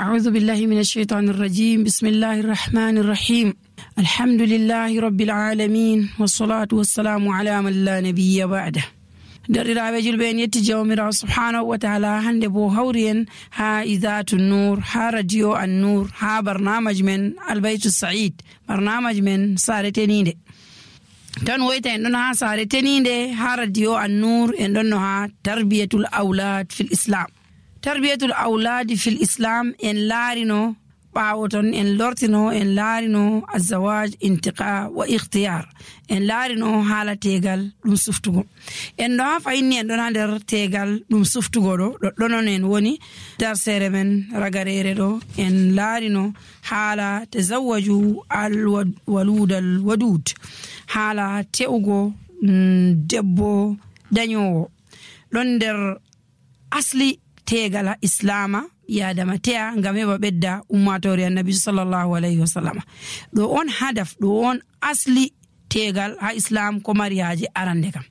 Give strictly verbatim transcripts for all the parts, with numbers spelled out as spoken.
أعوذ بالله من الشيطان الرجيم. بسم الله الرحمن الرحيم. الحمد لله رب العالمين والصلاة والسلام على من لا نبي بعده. درiraɓe julɓe en yetti jawmirawo subhanahu wa taala, hande bo hawri en ha idatu nur, ha radio an nur, ha barnamaj men albaytu said, barnamaj men sare tenide. tan woyta en ɗon ha sare tenide ha radio an nur, en ɗon no ha tarbiyatul aulad fil islam. tarbiyatul auladi fil islam en laarino ɓaawo ton, en lortino en laarino azawaj intiqa wa ikhtiyar, en laarino haala tegal ɗum suftugo. en ɗo ha fayinni en ɗon ha nder tegal ɗum suftugo ɗo ɗoɗɗonon en woni darsere men ragarere ɗo. en laarino haala tazawwaju alwaludal wadud, haala te'ugo debbo dañowo. ɗon nder asli tegal ha islama yadama teya ngam heɓa ɓedda ummatori annabi sallallahu alayhi wa sallam. ɗo on hadaf, ɗo on asli tegal ha islam ko mari haaje arande kam.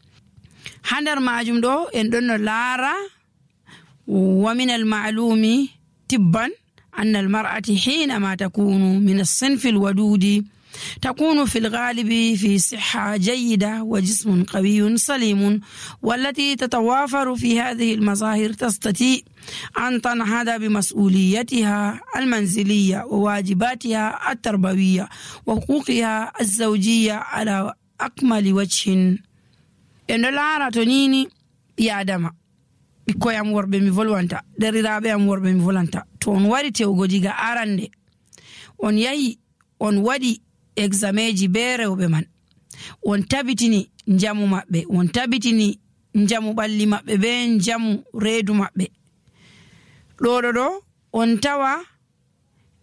ha nder majum ɗo en ɗon no laara wa min al ma'lumi tibban anna al mar'ati hinama takunu min as-sinfi al-wadudi تكون في الغالب في صحة جيدة وجسم قوي سليم، والتي تتوافر في هذه المظاهر تستطيع أن تنهض بمسؤوليتها المنزلية وواجباتها التربوية وحقوقها الزوجية على أكمل وجه. إن لا رتنيني يا دما بكو يام وربي مي فولوانتا دريرابي يام وربي مي فولانتا تون واري تيوغو جيغا آرانده on yahi on waɗi exameji be rewɓe man, on tabitini njamu maɓɓe, on tabitini njamu ɓalli maɓɓe be njamu reedu maɓɓe. ɗoɗo ɗo on tawa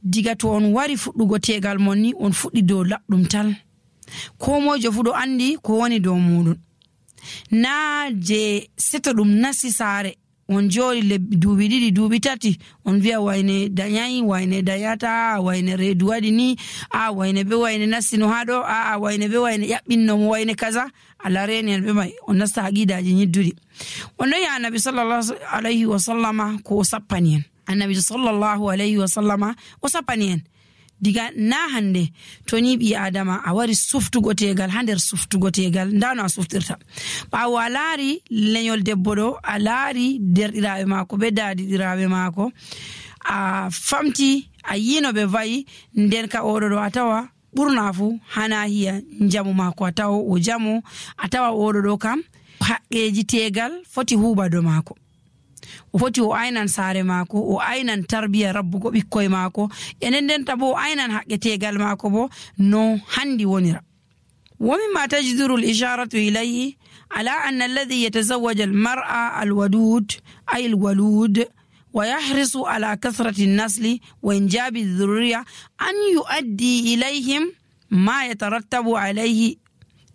diga to on wari fuɗɗugo tegal mon ni on fuɗɗi dow laɓɗum tal, ko mojo fu ɗo andi ko woni dow muɗum. na je seto ɗum nasi saare on jooɗi lebbi duuɓi ɗiɗi duuɓi tati on wiya wayne dañayi, wayne dañata, wayne reedu waɗi ni, a wayne be wayne nastino ha ɗo, a a wayne be wayne ƴaɓɓinnomo wayne kaza. Allah reni en ɓe mai on nasta aqidaji ñidduɗi. on ɗon ya annabi sallallahu alayhi wa sallama ko o sappani en. annabi sallallahu alayhi wa sallama o sappani en diga na hande to ni ɓi adama a wari suftugo tegal ha nder suftugo tegal ndano a suftirta. ɓawo a laari leñol debbo ɗo, a laari derɗiraɓe maako be daadiɗiraɓe maako, a famti a yino ɓe vayi, nden ka oɗo ɗo a tawa ɓurna fu hana hiya jamu maako a tawa o jamu, a tawa oɗo ɗo kam haqqeji tegal foti huuɓa do maako. o foti o aynan saare maako, o aynan tarbiya rabbugo ɓikkoye maako, enen ndenta bo o aynan haqqe tegal maako bo no handi wonira. ومما تجدر الإشارة إليه على أن الذي يتزوج المرأة الودود أي الولود ويحرص على كثرة النسل وإنجاب الذرية أن يؤدي إليهم ما يترتب عليه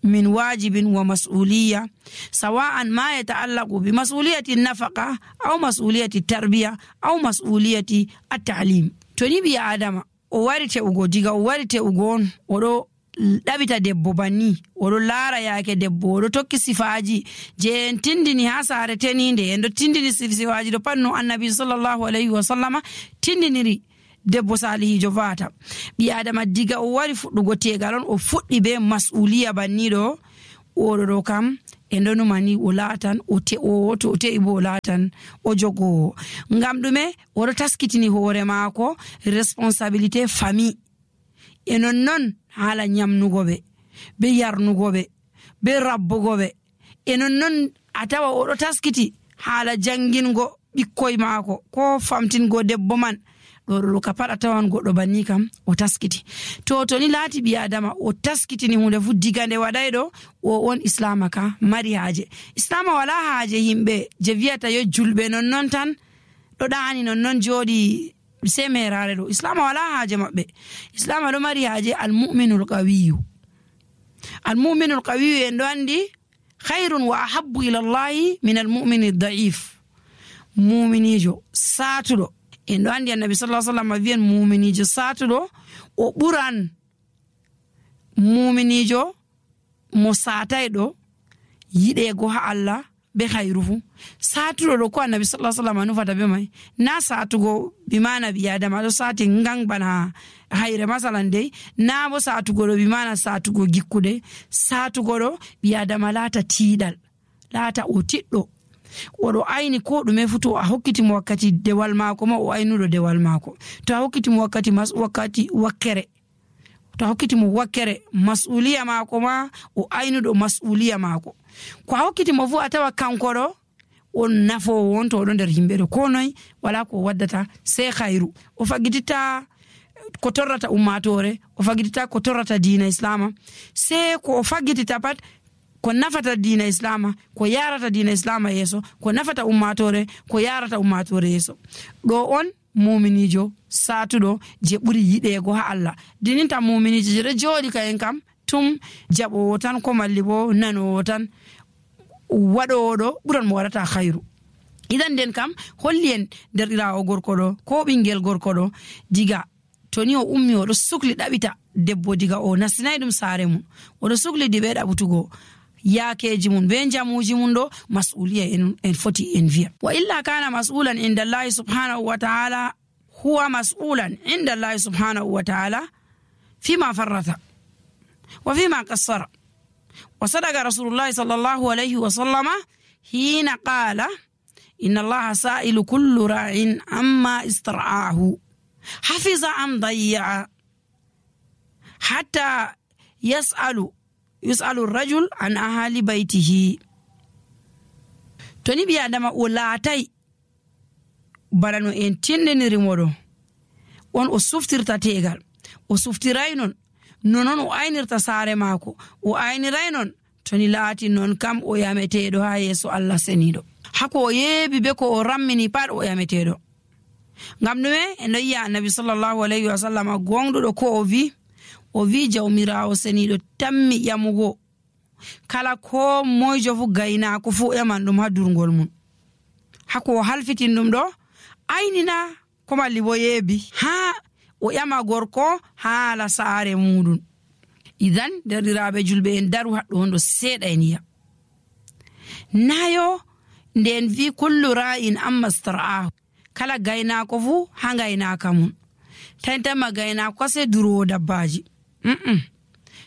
من واجب ومسؤولية، سواء ما يتعلق بمسؤولية النفقة أو مسؤولية التربية أو مسؤولية التعليم. توني بيا آدم ووارته ugo diga o warite ugon oɗo ɗabita debbo banni, oɗo laara yaake debbo, oɗo tokki sifaji je en tindini ha saare teninde, en ɗo tindini sifaji ɗo pat no annabi sallallahu alayhi wa sallama tindiniri debbo salihijo vata. ɓi adama diga o wari fuɗɗugo tegal on o fuɗɗi be mas'uliya banniɗo, oɗo ɗo kam en ɗo numani o laatan o te'owo, to o te'i bo o laatan o jogowo. ngam ɗume? oɗo taskitini hoore maako responsabilité famille. e nonnon haala nyamnugo ɓe be yarnugo ɓe be rabbugo ɓe, e nonnon a tawa oɗo taskiti haala jangingo ɓikkoye maako ko famtingo debbo man. ɗoɗo ka pat a tawan goɗɗo banni kam o taskiti. to to ni laati ɓi adama o taskitini hunde fu diga nde waɗay ɗo, o on islama ka mari haaje. islama wala haaje yimɓe je wiyata yo julɓe nonnon tan ɗo ɗani nonnon jooɗi se merare ɗo. islama wala haaje maɓɓe. islama ɗo mari haaje almuminul qawiyu. almuminul qawiyu en ɗo andi khairun wa ahabbu ila llahi min almumini daif. muminijo satuɗo, en ɗo andi annabi sallallahu alaihi wasallam wiyen muminijo satuɗo o ɓuran muminijo mo satay ɗo yiɗego ha Allah be khairu fu satudo do ko annabi sallallahu alaihi wasallam nufata be mai na satugo bi mana bi adama do sati ngang bana hayre masalan dai na bo satugo do bi mana satugo gikkude satugo do bi adama lata tidal lata o tiddo odo ayni ko dume futo a hokkiti mo wakkati dewal mako ma o aynudo dewal mako to a hokkiti mo wakkati mas wakkati wakkere to a hokkiti mo wakkere mas'uliya mako ma o aynudo mas'uliya mako ko a hokkiti mo fu atawa kanko do on nafo wonto do nder himbe do ko noy wala ko waddata sai khairu o fagitita ko torrata ummatore o fagitita ko torrata diina islama sai ko fagitita pat ko nafata diina islama ko yarata diina islama yeso ko nafata ummatore ko yarata ummatore yeso do on mu'minijo satudo je buri yidego ha Allah dininta mu'minijo je jodi kayen kam tum jabo tan ko mallibo nano tan wado do buran mo warata khairu idan den kam hollien derdira o gorko do ko bingel gorko do diga toni o ummi o do sukli dabita debbo diga o nasnay dum sare mun o do sukli dibe dabutugo yakeji mun be jamuji mun do mas'uliya en, en foti en via wa illa kana mas'ulan inda Allah subhanahu wa ta'ala huwa mas'ulan inda Allah subhanahu wa ta'ala fima farrata wa fima qassara wa sadaqa rasulullah sallallahu alayhi wa sallama hina qala inna Allah sa'ilu kullu ra'in amma istar'ahu hafiza am dayya hatta yas'alu yus'alu ar-rajul an ahli baytihi toni bi adama o laatay barano en tindiniri modo on o suftirta tegal o suftiray non nonon o aynirta sare mako o ayniray non toni laati non kam o yametedo ha yeso Allah senido hako o yebi be ko o rammini pad o yametedo ngam nume en yiya annabi sallallahu alaihi wasallam gongdudo ko o vi o vi jawmirawo senido tammi yamugo kala ko moyjo fu gayna ko fu yaman dum ha durgol mun hako halfitin dum do aynina ko malli bo yebi ha o yama gorko hala saare mudun idan derdirabe julbe en daru haddo hondo seeda eniya nayo nden vi kullu ra'in amma stara'ahu kala gayna ko fu ha gayna kamun tantama gayna ko se duro dabbaji mm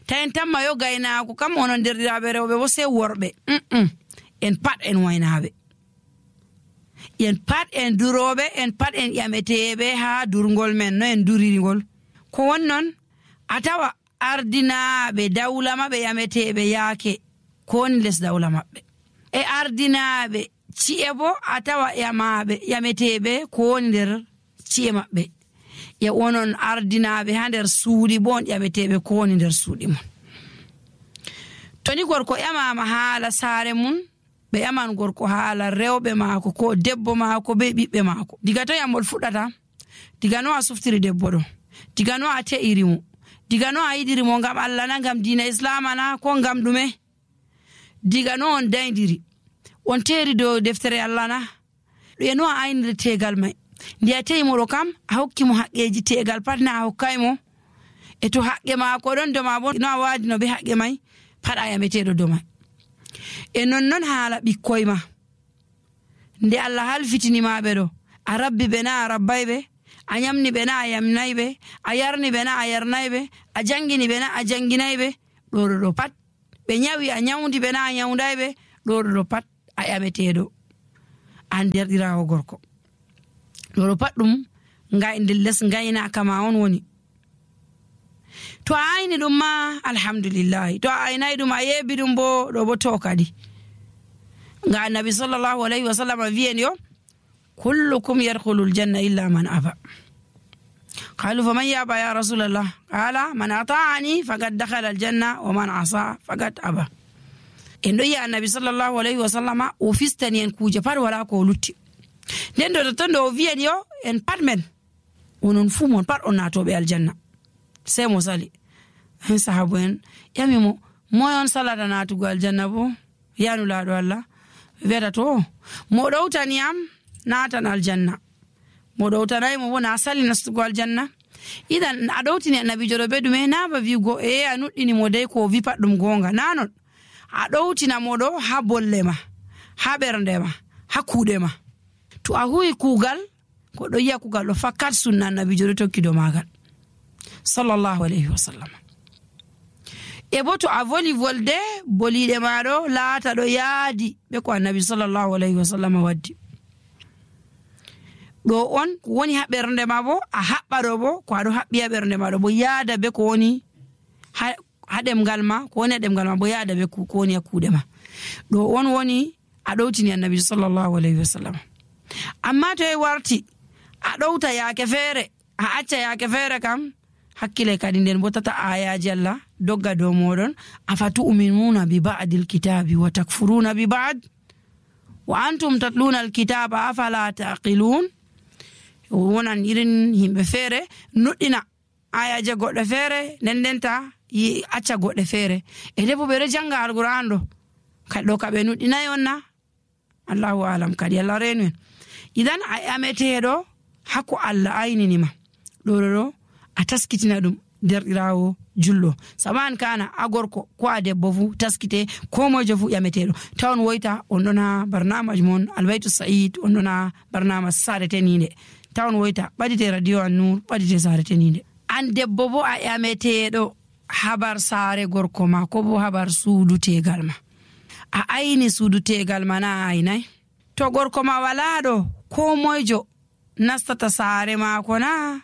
tantama yo gayna ko kam onon derdirabe rewbe bo se worbe mm en pat en waynabe en pat en durobe en pat en yametebe ha durgol men no en duririgol ko wonnon atawa ardinaabe dawla mabbe yametebe yaake ko ni les dawla mabbe e ardinaabe ciebo atawa yamabe yametebe ko nder cie mabbe e wonon ardinaabe ha nder suudi bon yametebe ko ni nder suudi mon toni gorko yamama hala sare mun be yaman gorko hala rewbe maako ko debbo maako be bibbe maako diga to yamol fudata diga no a suftiri debbo do diga no a te'iri mo diga no a yidiri mo ngam Allah na ngam diina islam na ko ngam dume diga no on daydiri on teri do deftere Allah na e no a aynire tegal mai ndiya tey mo do kam a hokki mo haqeji tegal patna a hokkay mo e to haqqe maako don do ma bon no a wadi no be haqqe mai pada yametedo do mai e non non haala bikkoy ma nde Allah halfitini maabe do a rabbi bena a rabbaybe a nyamni bena a yamnaybe a yarni bena a yarnaybe a jangini bena a janginaybe do do pat be nyawi a nyawndi bena a nyawndaybe do do pat a yametedo an derdirawo gorko do pat dum ngay ndil les ngayna kama on woni to ayni dum ma alhamdulillah to aynay dum ayebi dum bo do bo to kadi nga nabi sallallahu alaihi wasallam viyen yo kullukum yadkhulul janna illa man aba qalu faman yaba ya rasulullah qala man ata'ani faqad dakhala al janna wa man asa faqad aba endo ya nabi sallallahu alaihi wasallam o fistani en kuje par wala ko lutti den do to do viyen yo en parmen onon fu mon par on nato be al janna sai mo sali hen sahabu en yami mo moyon salada natugo aljanna bo yanu laado Allah vera to mo dawtani am natan aljanna mo dawtanay mo wona sali nastugo aljanna idan adawtini annabi jodo bedume na ba vigo e anuddini mo dai ko vi paddum gonga nanon adawtina mo do ha bollema ha ɓernde ma ha kuuɗe ma. To a huwi kuugal ko ɗo yi'a kuugal ɗo fakkat sunna annabijo ɗo tokki dow maagal sallallahu alayhi wa sallam. E bo to a voli volde boliɗe maɗo laata ɗo yaadi ɓe ko annabi sallallahu alayhi wa sallam waddi. ɗo on ko woni ha ɓernde ma bo a haɓɓa ɗo bo ko aɗo haɓɓi ha ɓernde ma ɗo bo yaada be ko woni ha ha ɗemgal ma ko woni ha ɗemgal ma bo yaada be ko woni ha kuuɗe ma. ɗo on woni a ɗowtini annabi sallallahu alayhi wa sallam. amma to e warti a ɗowta yaake feere a acca yaake feere kam hakkile kadi nden bo tata ayaji Allah dogga dow moɗon. afatu'minuna bi ba'dil kitabi wa takfuruna bi ba'd wa antum tatluna alkitaba afala taqilun. wonan irin himɓe feere nuɗɗina ayaje goɗɗe feere nden ndenta acca goɗɗe feere e debo ɓeɗo janga alquran ɗo kadi ɗo kaɓe nuɗɗinayi on na allahu alam kadi Allah renu en. idan a ameteɗo hakko Allah ayninima ɗo ɗo ɗo a taskitina ɗum derɗirawo julɗo saman kana a gorko ko a debbo fu taskite ko mojo fu ƴameteɗo tawan woyta on ɗon ha barnamaj mon albaytu sa'id on ɗon ha barnamaj sare teninde tawan woyta ɓadite radio An-Nur ɓadite sare teninde. an debbo bo a ƴameteɗo habar sare gorko ma ko bo habar suudu tegal ma a ayni suudu tegal ma na aynay. to gorko ma wala ɗo ko moyjo nastata sare mako na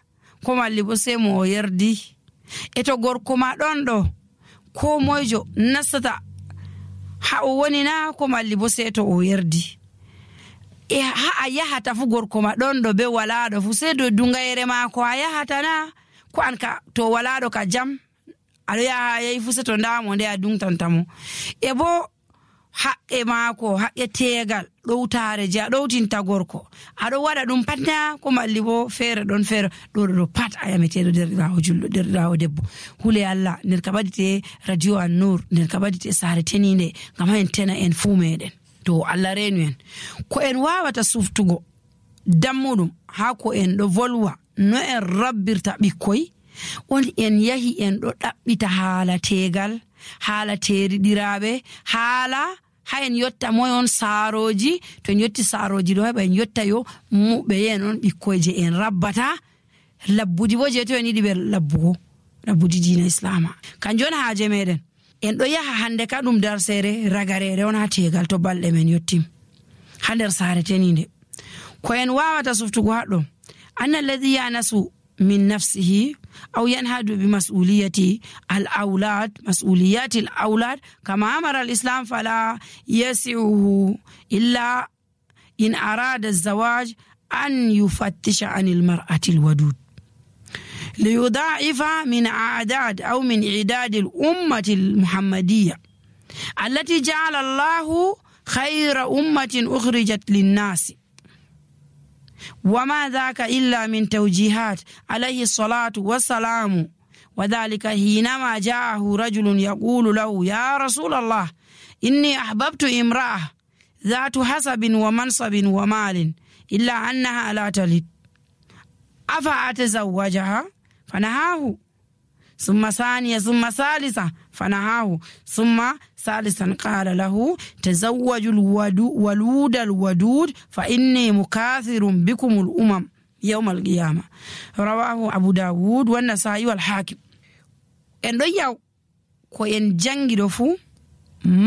ko malli bo sai mo o yerdi. e to gorko ma ɗon ɗo ko moyjo nastata ha o woni na ko malli bo sai to o yerdi. e ha a yahata fu gorko ma ɗon ɗo be walaɗo fu sai do dungayere mako a yahata na ko an ka to walaɗo ka jam aɗo yaha yahi fu sai to ndamo nde a dungtantamo. e bo haqqe maako haqqe tegal ɗowtare je a ɗowtinta gorko aɗo waɗa ɗum pat na ko malli bo feere ɗon feere ɗo ɗo pat a yameteɗo derɗirawo julɗo derɗirawo debbo. hule Allah nder ka ɓadite radio An-Nur nder ka ɓadite sare teninde ngam en tena en fuu meɗen. to Allah renu en ko en wawata suftugo dammuɗum ha ko en ɗo volwa no en rabbirta ɓikkoy on en yahi en ɗo ɗaɓɓita haala tegal haala teriɗiraɓe haala ha en yotta moy on saaroji. to en yotti saaroji ɗo heɓa en yotta yo muɓe yen on ɓikkoyje en rabbata labbudi bo je to en yiɗi ɓe labbugo labbudi dina islama kanjum on haaje meɗen. en ɗo yaha hande ka ɗum darsere ragarere on ha tegal to balɗe men yottim ha nder saare teninde. ko en wawata suftugo haɗɗo anna alladhi yanasu min nafsihi أو ينهد بمسؤولية الأولاد مسؤوليات الأولاد كما أمر الإسلام فلا يسعه إلا إن أراد الزواج أن يفتش عن المرأة الودود ليضاعف من أعداد أو من إعداد الأمة المحمدية التي جعل الله خير أمة أخرجت للناس وما ذاك إلا من توجيهات عليه الصلاة والسلام. وذلك حينما جاءه رجل يقول له يا رسول الله إني أحببت امرأة ذات حسب ومنصب ومال إلا أنها لا تلد أفأتزوجها فنهاه ثم ثانية ثم ثالثة فنهاه ثم ثالثا قال له تزوج الولود الودود فإني مكاثر بكم الأمم يوم القيامة. رواه أبو داود والنسائي والحاكم. en ɗo yaw ko en jangiɗo fu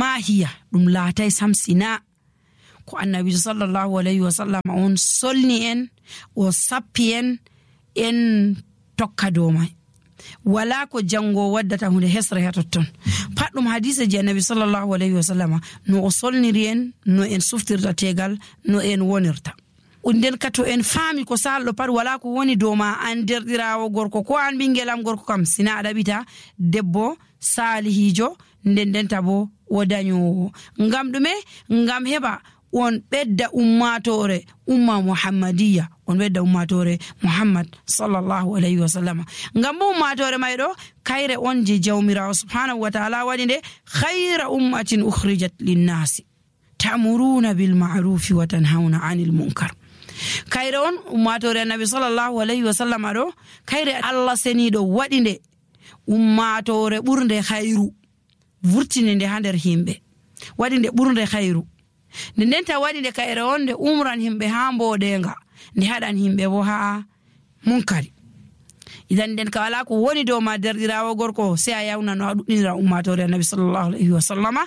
mahiya ɗum laatay samsina ko annabi sallallahu alayhi wa sallam on solni en o sappi en en tokka dow mai wala ko jango waddata hunde hesre ha totton pat ɗum hadise je annabi sallallahu alayhi wa sallam no o solniri en no en suftirta tegal no en wonirta. nden ka to en faami ko salɗo pat wala ko woni dow ma an derɗirawo gorko ko an ɓingelam gorko kam sina a ɗaɓita debbo salihijo nden ndenta bo o dañowo ngam ɗume ngam heɓa on ɓedda ummatore umma muhammadiya on ɓedda ummatore muhammad sallallahu alayhi wa sallam ngam bo ummatore may ɗo kayre on je jawmirawo subhanahu wa ta'ala waɗi nde khayra ummatin ukhrijat linnasi ta'muruna bil ma'rufi wa tanhauna 'anil munkar. kayre on ummatore annabi sallallahu alayhi wa sallam ɗo kayre Allah seniɗo waɗi nde ummatore ɓurde khayru vurtini nde ha nder himɓe waɗi nde ɓurde khayru nde nden ta waɗi nde kayre on nde umran himɓe ha mboɗenga nde haɗan himɓe bo ha munkari. idan nden ka wala ko woni dow ma derɗirawo gorko sai a yawna no a ɗuɗɗinira ummatore annabi sallallahu alaihi wa sallama.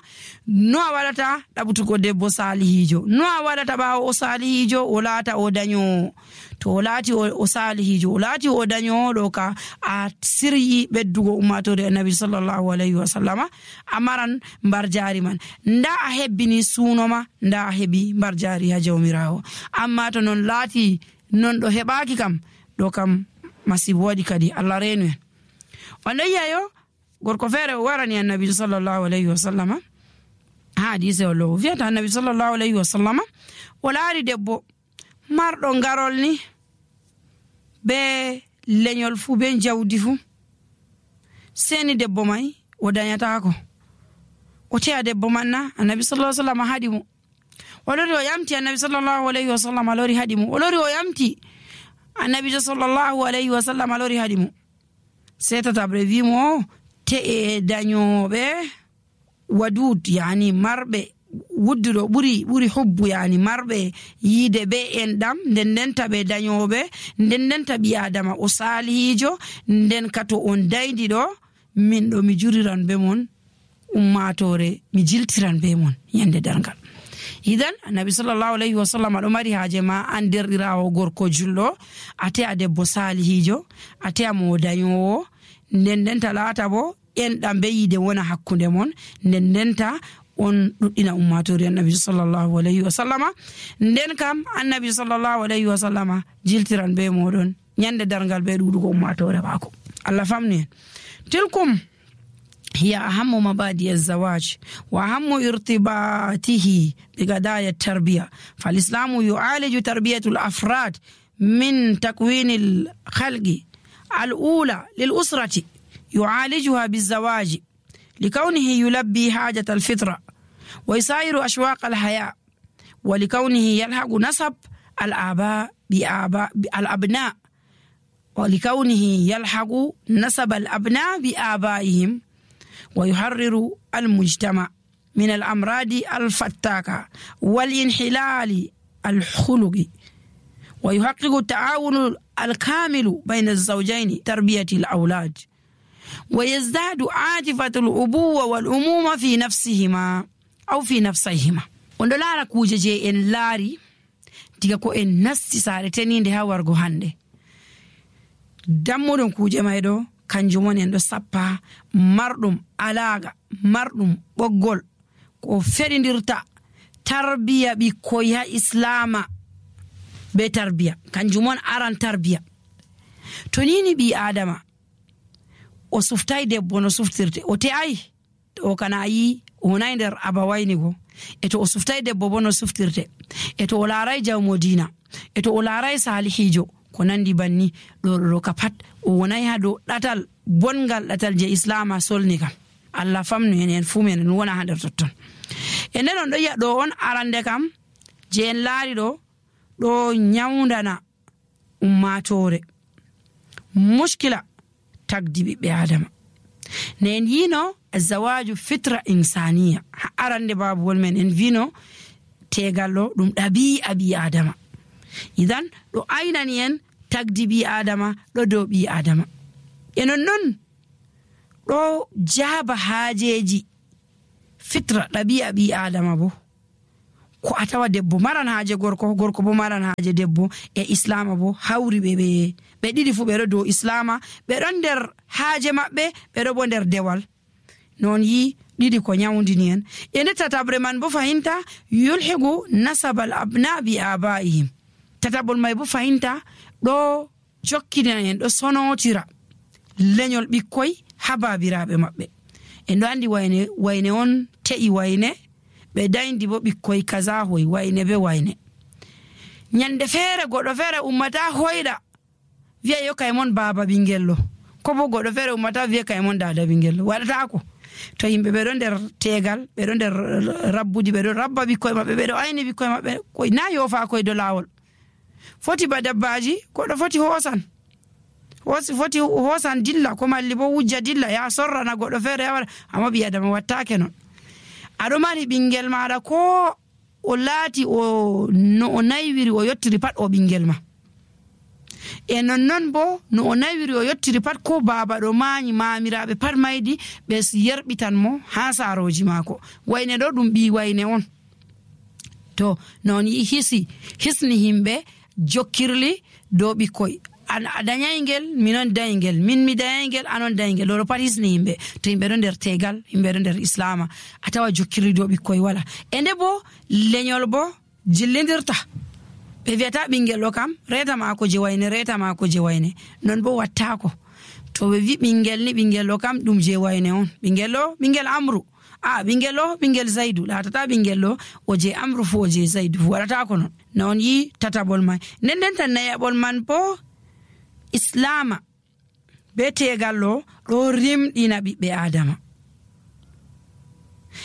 no a waɗata ɗaɓutugo debbo salihijo, no a waɗata ɓawo o salihijo o laata o dañowo. to o laati o salihijo o laati o dañowo ɗo ka a siryi ɓeddugo ummatore annabi sallallahu alaihi wa sallama, a maran mbar jari man. nda a hebbini sunoma, nda a heɓi mbar jari ha jawmirawo. amma to non laati non ɗo heɓaki kam ɗo kam masibo waɗi kadi Allah renu en. on ɗon yiyayo gorko feere o warani annabi sallallahu alaihi wa sallama ha hadise o lowo wiyata annabi sallallahu alaihi wa sallama o laari debbo marɗo ngarol ni be leñol fu be jawdi fu, seni debbo mai o dañatako. o teya debbo man na annabi sallallahu alaihi wa sallama haɗi mo. o lori o yamti annabi sallallahu alaihi wa sallama lori haɗi mo. o lori o yamti annabi sallallahu alaihi wa sallam alori hadi mo. setatabre wi mo te e dañoɓe wadud yani marɓe wudduɗo ɓuri ɓuri hubbu yani marɓe yiide be en ɗam nden nden taɓe dañoɓe nden nden taɓi adama o salihijo nden kato on daydi ɗo min ɗo mi juriran be mon ummatore mi jiltiran be mon yande dargal. idan annabi sallallahu alaihi wa sallam ɗo mari haaje ma an derɗirawo gorko julɗo a te'a debbo salihijo a te'a mo dañowo nden ndenta laata bo enɗam be yiide wona hakkunde mon nden ndenta on ɗuɗɗina ummatori annabi sallallahu alaihi wa sallama. nden kam annabi sallallahu alaihi wa sallama jiltiran be moɗon ñande dargal be ɗuɗugo ummatore maako. Allah famni en. tilkum هي أهم مبادئ الزواج وأهم ارتباطه بقضايا التربية. فالإسلام يعالج تربية الأفراد من تكوين الخلق الأولى للأسرة، يعالجها بالزواج لكونه يلبي حاجة الفطرة ويساير أشواق الحياة، ولكونه يلحق نسب الآباء بآباء الأبناء ولكونه يلحق نسب الأبناء بآبائهم، ويحرر المجتمع من الأمراض الفتاكة والانحلال الخلقي، ويحقق التعاون الكامل بين الزوجين تربية الأولاد، ويزداد عاطفة الأبوة والأمومة في نفسهما أو في نفسيهما. ondo lara kuje je en laari diga ko en nasti saare teninde ha wargo hande dammudon kuje may do kanjum woni en do sappa marɗum alaga marɗum ɓoggol ko fedindirta tarbiya ɓikkoy ha islama be tarbiya kanjum won aran tarbiya. to nini ɓi adama o suftay debbo no suftirte o te'ay o kana yi o nay nder abawayni go e to o suftay debbo bo no suftirte e to o laaray jawmo diina e to o laaray salihijo ko nandi banni ɗo ɗo ka pat o wonay ha dow ɗatal bongal ɗatal je islama solni kam. Allah famnu en en fu men en wona ha nder totton. e nden on ɗo yiya ɗo on arande kam je en laari ɗo ɗo nyawdana ummatore mushkila tagdi ɓiɓɓe adama. ne en yino zawaju fitra insaniya ha arande babuwol men en vino tegal ɗo ɗum ɗabi'a ɓi adama. idan ɗo aynani en tagdi ɓi adama ɗo dow ɓi adama. e non non ɗo jaaba haajeji fitra ɗabi'a ɓi adama bo ko a tawa debbo maran haaje gorko gorko bo maran haaje debbo e islama bo hawri ɓe ɓe ɓe ɗiɗi fu ɓe ɗo dow islama ɓe ɗon nder haaje maɓɓe ɓe ɗo bo nder dewal. non yi ɗiɗi ko nyawdini en. e nde tatabre man bo fahinta yulhigu nasabal abna bi abaihim. tatabol may bo fahinta ɗo jokkina en ɗo sonotira leñol ɓikkoy ha babiraɓe maɓɓe. en ɗo andi wayne wayne on te'i wayne ɓe dayndi bo ɓikkoy kaza hoy wayne be wayne. nyande feere goɗɗo feere ummata hoyɗa wiya yo kay mon baba ɓingello ko bo goɗɗo feere ummata wiya kay mon dada ɓingello waɗatako. to yimɓe ɓe ɗo nder tegal ɓe ɗo nder rabbudi ɓe ɗo rabba ɓikkoy maɓɓe ɓe ɗo ayni ɓikkoy maɓɓe koy na yofa koy do lawol. foti ba dabbaji goɗɗo foti hoosan hosi foti hoosan dilla ko malli bo wujja dilla ya sorrana goɗɗo feere yawara amma ɓi adama wattake non. aɗo mari ɓingel maɗa ko o laati o no o naywiri o yottiri pat o ɓingel ma. E nonnon bo no o naywiri o yottiri pat ko baaba ɗo maanyi maamiraɓe pat maydi ɓe yerɓitan mo ha saaroji maako. Wayne ɗo ɗum ɓi wayne on. To non yi hisi hisni himɓe jokkirli dow ɓikkoy. An a dañaygel minon dañgel min mi dañaygel anon dañgel ɗo pat hisni himɓe. To himɓe ɗo nder tegal himɓe ɗo nder islama a tawa jokkirli dow ɓikkoy wala. E nde bo leñol bo jillidirta ɓe wiyata ɓingel ɗo kam reta maako je wayne reta maako je wayne non bo wattako. To ɓe wi ɓingel ni ɓingel ɗo kam ɗum je wayne on. Ɓingel ɗo ɓingel Amru a ɓingel ɗo ɓingel Zaidu latata ɓingel ɗo o je Amru fu o je Zaidu fu waɗatako non. Non yi tataɓol man. Nden nden tan nayaɓol man bo islama be tegal ɗo ɗo rimɗina ɓiɓɓe adama.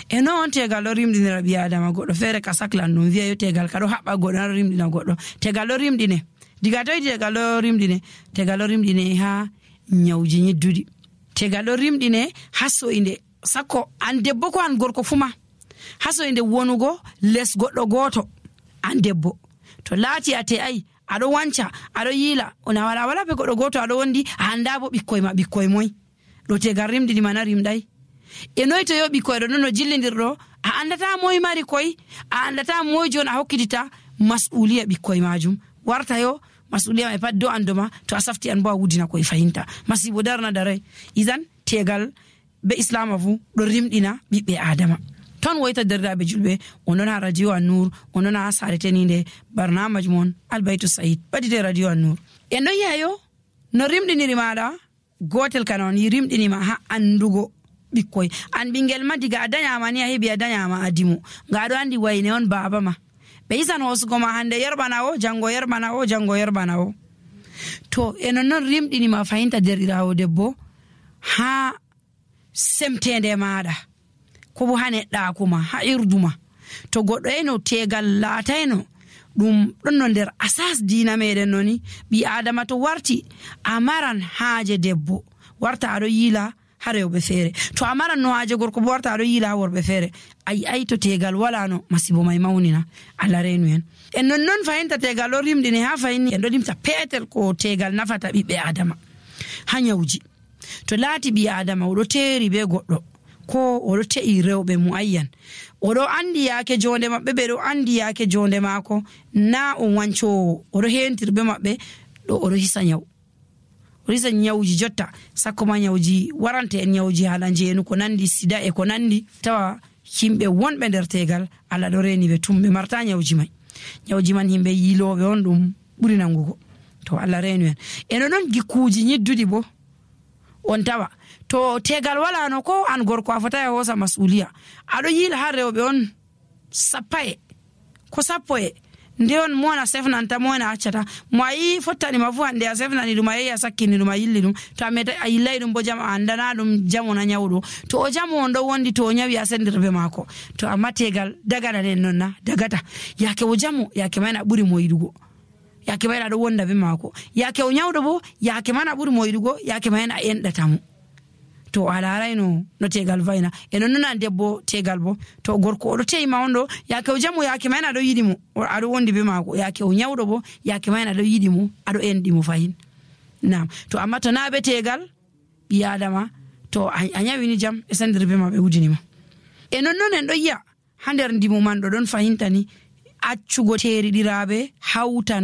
E non tegal ɗo rimɗinira ɓi adama. Goɗɗo feere ka saklan ɗum wiya yo tegal ka ɗo haɓɓa goɗɗo ɗo rimɗina goɗɗo. Tegal ɗo rimɗine diga toy tegal ɗo rimɗine tegal ɗo rimɗine ha nyawji nyidduɗi. Tegal ɗo rimɗine ha so'inde sakko an debbo ko an gorko fuma ha so'inde wonugo les goɗɗo goto an debbo to laati a te'ai aɗo wanca aɗo yiila ona wala wala be goɗɗo goto aɗo wondi a anda bo ɓikkoy ma ɓikkoy moy ɗo tegal rimɗini mana rimɗay. E noy to yo ɓikkoy ɗo non no jillidirɗo a andata moy mari koy a andata moy jon a hokkitita mas'uliya ɓikkoy majum warta yo mas'uliya mai pat do andoma to a safti an bo a wudina koye fahinta masibo darna daray. Idan tegal be islama fu ɗo rimɗina ɓiɓɓe adama. Ton woyta derdaɓe julɓe onon ha radio An-Nur onon ha sare teninde barnamaji mon Albaytu Said ɓadide radio An-Nur. En ɗon yi'ayo no rimɗiniri maɗa gotel kana on yi rimɗinima ha andugo ɓikkoy an ɓingel ma diga a dañama ni a heɓi a dañama a dimo nga aɗo andi wayne on baba ma ɓe isan hosugo ma hande yerɓana o jango yerɓana o jango yerɓana o. To e nonnon rimɗinima fahinta derɗirawo debbo ha semtende maɗa ko bo ha neɗɗakuma ha irduma. To goɗɗo eno tegal laatayno ɗum ɗon no nder asas dina meɗen noni ɓi adama to warti a maran haaje debbo warta aɗo yiila ha rewɓe feere. To a maran no haaje gorko bo warta aɗo yiila ha worɓe feere. Ayi ay to tegal wala no masibo may mawnina Allah reenu en. En nonnon fahinta tegal ɗo rimɗini ha fahinni en ɗo limta peetel ko tegal nafata ɓiɓɓe adama ha nyawji. To laati ɓi adama oɗo teeri be goɗɗo ko oɗo te'i rewɓe muayyan oɗo andi yaake jonde maɓɓe ɓe ɗo andi yaake jonde maako na on wancowo oɗo hentir be maɓɓe ɗo oɗo hisa nyaw oɗo hisa nyawji jotta sakko ma nyawji warante en nyawji hala njeenu ko nandi sida e ko nandi tawa himɓe wonɓe nder tegal Allah ɗo reni ɓe tum ɓe marta nyawji may nyawji man himɓe yiiloɓe on ɗum ɓuri nangugo to Allah reenu en. eno noon gikkuji nyidduɗi bo on tawa to tegal wala no ko an gorko a fota e hosa masuliya aɗo yiila ha rewɓe on sappae ko sappo e nde on mo na sefnanta mo na accata mo ayi fottani ma fu hande a sefnani ɗum a yehi a sakkini ɗum a yilli ɗum to a meta a yillay ɗum bo jam a andana ɗum jamo na nyawɗo to o jamo on ɗo wondi to o nyawi a sendirbe maako to amma tegal dagana nen non na dagata yake o jamo yake mayna ɓuri mo yiɗugo yake mayna ɗo wonda be maako yake o nyawɗo bo yake mana ɓuri mo yiɗugo yake mayna a enɗatamo to a larayno no tegal vayna e non non debbo tegal bo to gorko oɗo teima on ɗo yake o jamo yake mayna aɗo yiɗi mo aɗo wondi be maako yake o nyawɗo bo yake mayna aɗo yiɗi mo aɗo enɗi mo fayin nam. To amma to na be tegal ɓi adama to a nyawini jam e sendir be ma ɓe wujinima. E non non en ɗo yiya ha nder ndimo man ɗo ɗon fahintani accugo teriɗiraɓe hawtan